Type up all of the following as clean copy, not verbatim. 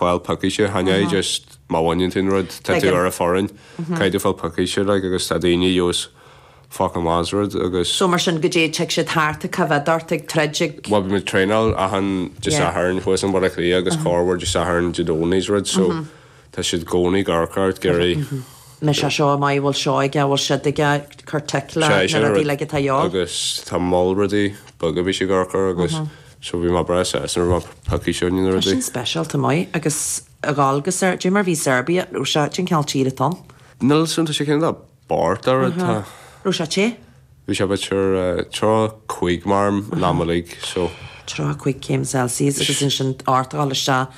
Fáil pioctha, chan é just má bhaineann tú an rud, tá tú ar an foireann, caithfidh tú fáil pioctha like agus tá daoine a gheobhas fucking maith sa rud agus. So mar sin goidé tig siad thart ag coimhéad ort ag troid ag. Bhuel bhí muid traenáil achan Dé Sathairn thuas in Baile Átha Cliath agus corruair Dé Sathairn Dé Domhnaigh is rud so tá siad i gcónaí ag amharc ort ag iarraidh. Mbeidh sé seo maith, bhfuil seo aige, bhfuil siad aige, cuir tic le na rudaí uilig atá a dhíobháil. Agus tá moll rudaí beaga bhí sé ag amharc air agus So bhí mé breá sásta nuair a bhí pioctha sin na Tá rudaí. sin speisialta maith agus a dhul go Ser, goidé mar bhí Serbia, raibh sé, cén cineál tír atá ann? Níl 'fhios a'm, tá sé cineál bocht ar rud, tá. Raibh sé te? Bhí sé b'fhéidir 35 mar an am uilig, so. 35 céim Celsius agus ansin ort a dhul isteach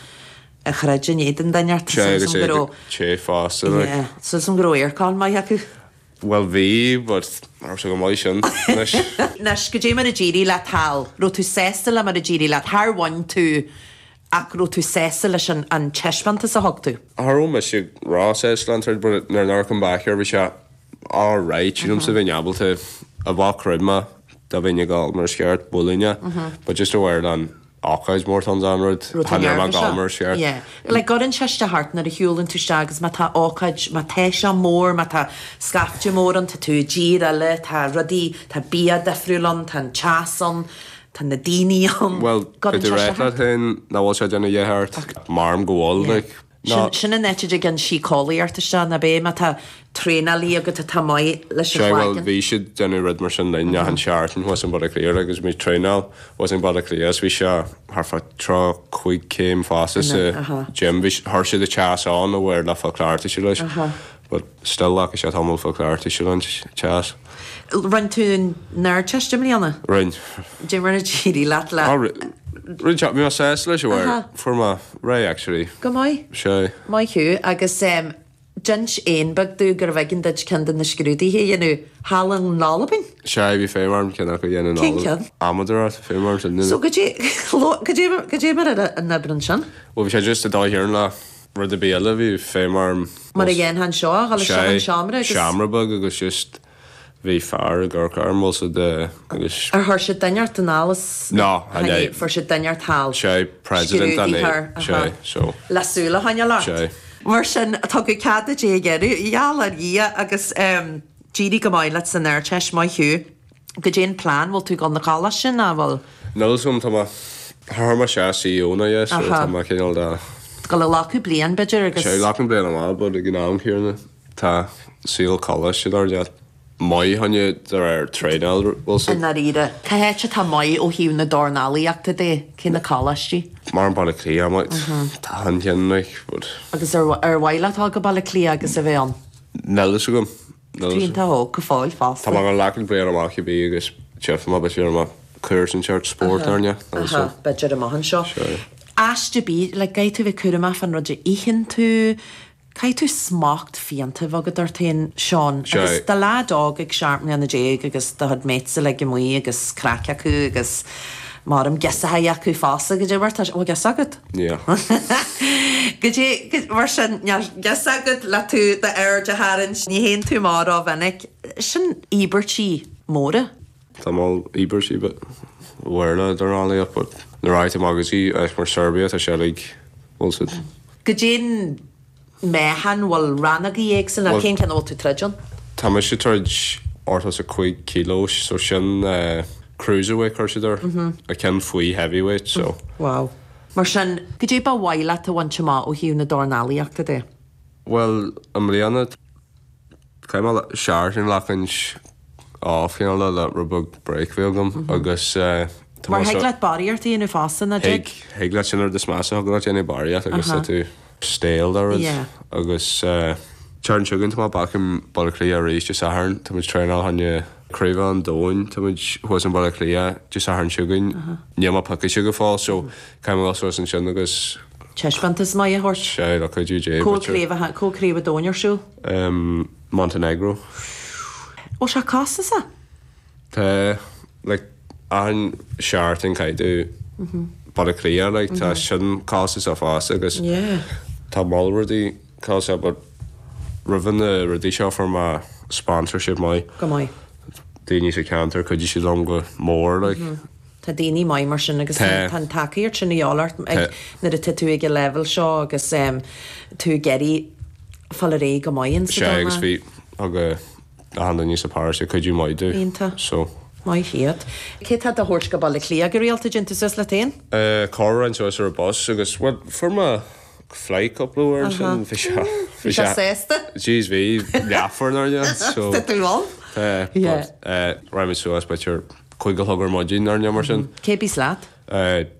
a throid in éadan duine ort, Sea, súil agus agam é go raibh, te fosta, like. yeah, súil agam go raibh aircon maith acu. Bhuel bhí, but ní raibh sé go maith sin anois. Anois, goidé mar a d'éirigh leat thall? Raibh tú sásta le mar a d'éirigh leat? Char bhain tú ach raibh tú sásta leis an an taispeántas a thug tú? Cha raibh mise ró-sásta le an troid but nuair a come back here bhí sé alright, sílimse bheinn ábalta a bheadh chreid mé dá bheinn ag dul mar is ceart, bualadh é, but just aware an ócáid mór atá ann an rud, Raibh tú chan raibh mé ag dul neirbhíseach? mar is ceart. Yeah. Like cuireann sé isteach ort nuair a shiúlann tú isteach agus má tá ócáid, má tá sé mór, má tá scaifte mór ann, tá tú i dtír eile, tá rudaí, tá bia difriúil ann, tá an teas ann, tá na daoine ann. Bhuel, Cuireann beidh tú sé réidh isteach leat ort. féin nach bhfuil sé ag déanamh a dhath ort, maram go bhfuil, Yeah. like. Ná. Sin an áit a dtig an síceolaíocht isteach, ná b'é má tá traenálaí agat atá maith leis an Sea, bhuel, chlaigeann. bhí siad déanamh rud mar sin linn achan seachtain thuas in Baile Átha Cliath agus muid traenáil thuas in Baile Átha Cliath is bhí sé thart fá 35 céim fosta sa gym. Bhí, chuir siad an teas ann a bhfuair le fáil cleachtaithe leis but still ghlac sé tamall fáil cleachtaithe leis an teas. Rinne tú an Ardteist i mbliana? Rinne. Dé mar a d'éirigh leat le. Rinne sé, bhí mé sásta leis a bhfuair, fuair mé réidh actually. Go maith. Sea. Maith thú agus d'inis éan beag domh gurbh éigean duit ceann de na scrúduithe a dhéanamh thall in Albain? Sea, bhí feidhm orm ceann acu a dhéanamh in Cén Albain. ceann? Amadóireacht, bhí feidhm orm sin a dhéanamh. So goidé, goidé, goidé mar a an obair ansin? Bhuel bhí sé just ag dul thiar le rud ar bith eile, bhí feidhm orm. Mar a dhéanfá anseo, a dhul isteach in seomra agus. Sea, seomra beag agus just Bhí fear ag amharc orm, bhfuil 's a'd, agus. Ar chuir siad duine ort anall is. No, chan ea. Fuair siad duine ort thall. Sea, president an Scrúdaítheoir, é, sea, so. Le súil a choinneáil ort. Sea. Mar sin, tugadh cead duit é a dhéanamh, gheall ar Dhia, agus d'éirigh go maith leat san Ardteist, maith thú. Goidé an plean, bhfuil tú ag dul 'na choláiste nó bhfuil? Níl 'fhios a'm, tá mé, chuir mé isteach CEO ná yes, so tá mé cineál de. Dul a ghlacadh bliain, b'fhéidir, agus. Sea, glacaim bliain amach, but ag an am céanna. Tá saol coláiste dar leat maith choinne de réir traenáil, bhfuil 's I a'd. ndáiríre, cá háit atá maith ó thaobh na dornálaíochta de? Cé na coláistí? Mar an Baile Cliath, maith, tá an ceann like, but. Agus ar ar mhaith leat dul go Baile Cliath agus a bheith ann? Níl fhios agam. Tá tú iontach óg go fóill fosta. Tá mé ag glacann bliain amach cibé agus tchífidh mé b'fhéidir mé cúrsa inteacht spóirt ar ndóigh, níl fhios agam. B'fhéidir amach anseo. Sure. Aiste bídh, like, caithfidh tú bheith cúramach fán rud a itheann tú, Caithfidh tú smacht fiánta a bheith agat ort féin, Seán, agus do leaid óg ag 17 mbliana agus do chuid mates uilig amuigh agus craic acu agus maram girseachaí acu fosta, goidé mar tá, bhfuil girseach agat? Níl. Goidé, mar sin, níl girseach agat le tú d'aird a tharraingt, ní théann tú amach rómhinic. Sin íobairtí móra. Tá moll íobairtí but mhór le dornálaíocht but nuair a fhaightear amach go dtí áit mar Serbia tá sé uilig bhfuil 's a'd. Goidé an meáchan, bhfuil rannógaí éagsúla, cén ceann a bhfuil tú troid ann? Tá mise ag troid 85 kilos so sin cruiserweight chuir siad air, a ceann faoi heavyweight so. Wow. Mar sin, goidé ba mhaith leat a bhaint amach ó thaobh na dornálaíochta de? Bhuel, i mbliana, Caithfidh mé seachtain a ghlacaint off cineál de le rud beag break a bheith agam agus tá Mar mé thig so leat barraíocht a dhéanamh fosta, nach Thig, dtig? thig leat sin an rud is measa, thig leat déanamh barraíocht agus tá tú stale de rud Yeah. agus tseachtain seo chugainn tá mé back in Baile Átha Cliath arís Dé Sathairn, tá muid traenáil choinne Craobh an Domhain, tá muid thuas in Baile Átha Cliath Dé Sathairn seo chugainn, níl mé pioctha go fóill so caithfidh mé dul suas ansin agus Taispeántas maith a thabhairt. Sea, le cuidiú Dé, Cá bhfuil b'fhéidir. craobh, cá bhfuil Craobh an Domhain ar siúl? Montenegro. Bhfuil sé costasach? Tá, like, achan seachtain caithfidh tú Baile Átha Cliath, like, tá sin costasach fosta agus tá moll rudaí costasach but roimhe na rudaí seo fuair mé sponsorship maith. Go maith. Daoine sa cheantar, chuidigh siad liom go mór, like. Tá daoine maith mar sin agus tá an tacaíocht sin a dhíobháil ort nuair atá tú ag an leibhéal seo agus tú ag iarraidh fáil ar aghaidh go maith insa Sea agus bhí thug achan duine sa pharóiste cuidiú maith domh. Iontach. So. Maith iad. Cé tá do thabhairt go Baile Átha Cliath go rialta, dtéann tú suas leat féin? Corruair raghainn suas ar an bus agus bhuel fuair mé flight cúpla uair ansin bhí sé bhí sé sásta? Jeez bhí leathuair nár dhein so. Tá tú ann? Tá but raghaimid suas b'fhéidir 5 a chlog ar maidin nó mar sin. Cé bíos leat?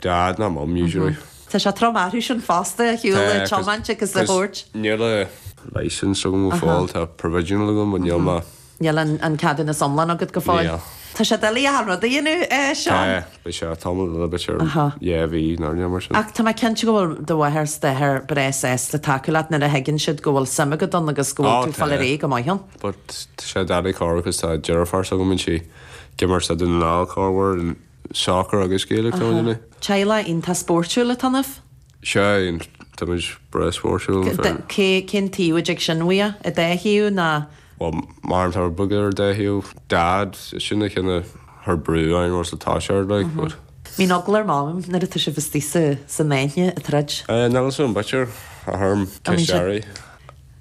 Dad nó Mum usually. Tá sé trom orthu sin fosta a shiúl a tiomáint agus a thabhairt. Níl a licence agam go fóill, tá provisional agam but níl mé. Níl an ceadúnas iomlán agat go fóill. Níl. Tá sé doiligh achan rud a dhéanamh, a Seán. Tá, beidh sé tamall eile, b'fhéidir 2 mhí nó mar sin. Ach tá mé cinnte go bhfuil do mháthair 's d'athair breá sásta tacú leat nuair a thuigeann siad go bhfuil suim agat ann agus go bhfuil tú ag fáil ar aghaidh go maith ann. But tá sé doiligh corruair cos tá deirfiúr s'agam bíonn sí ag imirt sa Dún na nGall corruair in soccer agus Gaelic tá muid Teaghlach iontach spóirtiúil atá ionaibh. Sea, tá muid breá spóirtiúil. Cé, cén taobh a dtig sin uaidh? An dá thaobh ná? Bhuel, mar tá beag ar an dá thaobh. Dad, sin a chinneadh thar brú orainn was atá sé ar like, but. Bíonn eagla ar Mham nuair atá sibh istigh sa, san aithne ag troid. Níl a fhios agam, b'fhéidir, a thuairim, ceist Airí.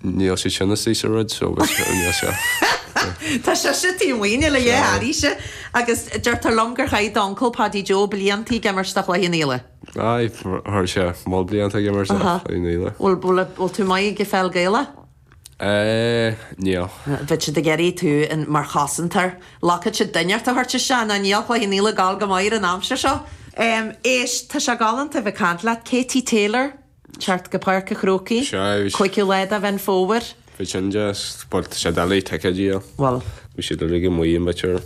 Níl siad sin istigh sa rud so níl sé. Tá sise taobh amuigh, níl a dhath airíse. Agus deirtear liom gur chaith d'uncail Paddy Joe blianta ag imirt do Chloich Cheann Fhaola. Aye, chuir sé moll blianta ag imirt do Chloich Cheann Fhaola. Bhfuil, bhfuil, bhfuil tú maith ag pheil Gaelach? Eh, níl. Bheadh siad ag iarraidh tú in mar chosantóir. Lochfadh siad duine ort a thabhairt isteach nó níl Cloich Cheann Fhaola ag gabháil go maith ar an aimsir seo. Éist, tá sé galánta a bheith ag caint leat. Katie Taylor, teacht go Páirc a' Chrócaigh, Sea, bhí. 5ú lá de Mheán Fómhair. Bhí sin deas, but tá sé doiligh ticéid a fháil. Bhuel. Bhí siad uilig amuigh in b'fhéidir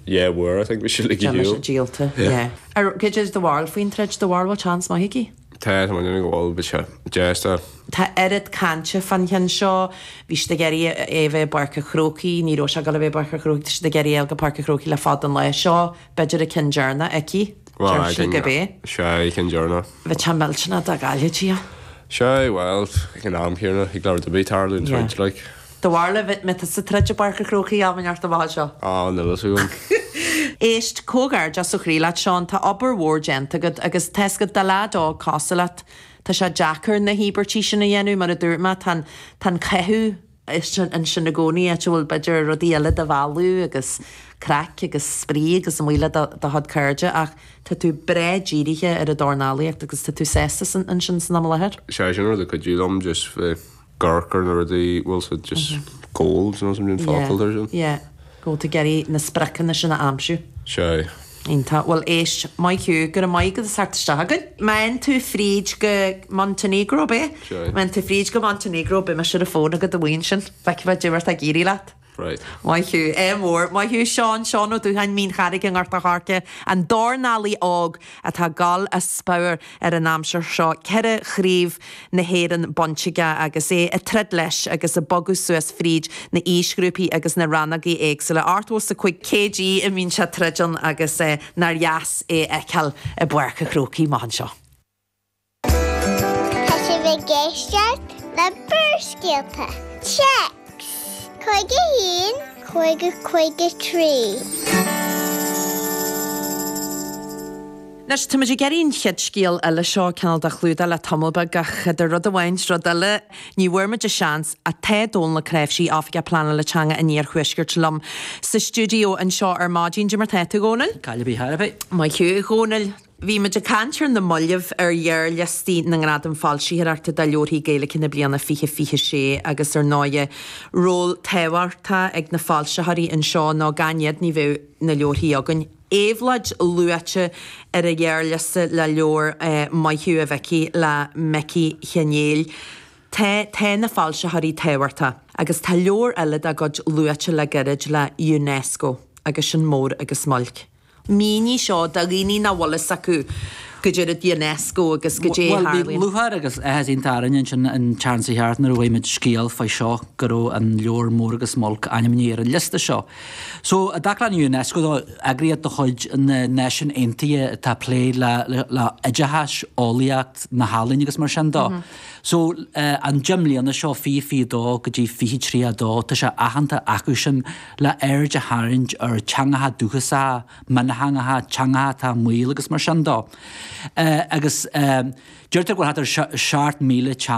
2 uair, I think, bhí siad uilig ar shiúl. Díolta, yeah. Ar, cad é do bharúil faoin troid, do bharúil bhfuil seans maith aici? Tá, tá mé ag déanamh go bhfuil, beidh sé deas dá. Tá oiread cainte fán cheann seo. Bhí siad ag iarraidh é a bheith i bPáirc a' Chrócaigh, ní raibh sé ag dul a bheith i bPáirc a' Chrócaigh, tá siad ag iarraidh é a fháil go Páirc a' Chrócaigh le fada an lá seo. B'fhéidir an ceann deireanach aici, Bhuel, deir I sí think, gurb é. sea, an ceann deireanach. Bheadh sé millteanach dá gcaillfidh í. Sea, bhuel, ag an am céanna, thig le rud ar bith tarlú an Yeah. troid, like. Do bharúil an mbeidh tusa ag troid i bPáirc a' Chrócaigh am inteacht amach anseo? Á, níl fhios agam. Éist, comhghairdeas ó chroí leat, Seán, tá obair mhór déanta agat agus tá fhios agat do leaid óg cosúil leat, tá sé deacair na híobairtí sin a dhéanamh, mar a dúirt mé, tá an, tá an caitheamh ansin i gcónaí, áit a bhfuil b'fhéidir rudaí eile do mhealladh agus craic agus spraoi agus amuigh le do do chuid cairde ach tá tú breá dírithe ar an dornálaíocht agus tá tú sásta ansin san am i láthair. Sea, sin rud a chuidigh liom, just bheith ag amharc ar na rudaí, bhfuil siad just goals nó something focal ar sin. Yeah, go bhfuil tú ag iarraidh na spriocanna sin a aimsiú. Sea. Iontach. Bhuel éist, maith thú, go raibh maith agat as theacht isteach chugainn. Má théann tú fríd go Montenegro, ab é? Sea. Má théann tú fríd go Montenegro, beidh mise ar an bhfón agat amuigh ansin. Feicfidh mé caidé mar atá ag éirí leat. Right. Maith thú. Ádh mór. Maith thú Seán, Seán Ó Dúcháin, Mín Charraig i nGort a' Choirce, an dornálaí óg atá ag gabháil as spior ar an aimsir seo, 4 chraobh na hÉireann bainte aige agus é ag troid leis agus ag bogadh suas fríd na aoisghrúpaí agus na rannógaí éagsúla. 85 kg a mbíonn sé ag troid ann agus nár dheas é a fheiceáil i bPáirc a' Chrócaigh amach anseo. Tá sibh ag éisteacht le Barrscéalta. Téacs 51 50 53. Anois, tá muid ag iarraidh an chéad scéal eile seo cineál de chlúdach le tamall beag ach idir rud amháin 's rud eile, ní bhfuair muid an seans. Ach tá Dónal Ó Cnáimhsí, Oifigeach Pleanála Teanga an Iarthuaiscirt liom sa stiúideo anseo ar maidin. Cad é mar tá tú, a Dhónaill? Caill ar bith thar a bith. Maith thú, a Dhónaill. Bhí muid ag caint ar na mallaibh ar ghearrliostaí na nGradam Foilsitheoireachta do Leabharthaí Gaeilge na bliana 2026 agus ar ndóighe ról tábhachtach ag na foilsitheoirí anseo nó gan iad ní bheadh na leabharthaí againn. Éabhlóid luaite ar an ghearrliosta le leabhar Maith Thú a Mhicí le Micí Chenéil. Tá, tá na foilsitheoirí tábhachtach agus tá leabhar eile dá gcuid luaite le gairid le Unesco agus sin Mór agus Muilc. Mínigh seo do dhaoine nach bhfuil fhios acu goidé rud Unesco agus goidé a Bhuel, bhí tharlaíonn. lúcháir agus áthas iontach orainn ansin an tseachtain seo thart nuair a bhfuair muid scéal fá seo go raibh an leabhar Mór agus Muilc ainmnithe ar an liosta seo. So, i dtaca le Unesco dó, eagraíocht de chuid na Náisiún Aontaithe atá ag plé le le oideachas, eolaíocht, na healaíona agus mar sin dó. So, an 10 mbliana seo, 2022 go dtí 2032, tá sé aitheanta acu sin le aird a tharraingt ar teangacha dúchasacha, miontheangacha, teangacha atá i mbaol agus mar sin dó. Agus deirtear go bhfuil thart ar 7,000 teanga.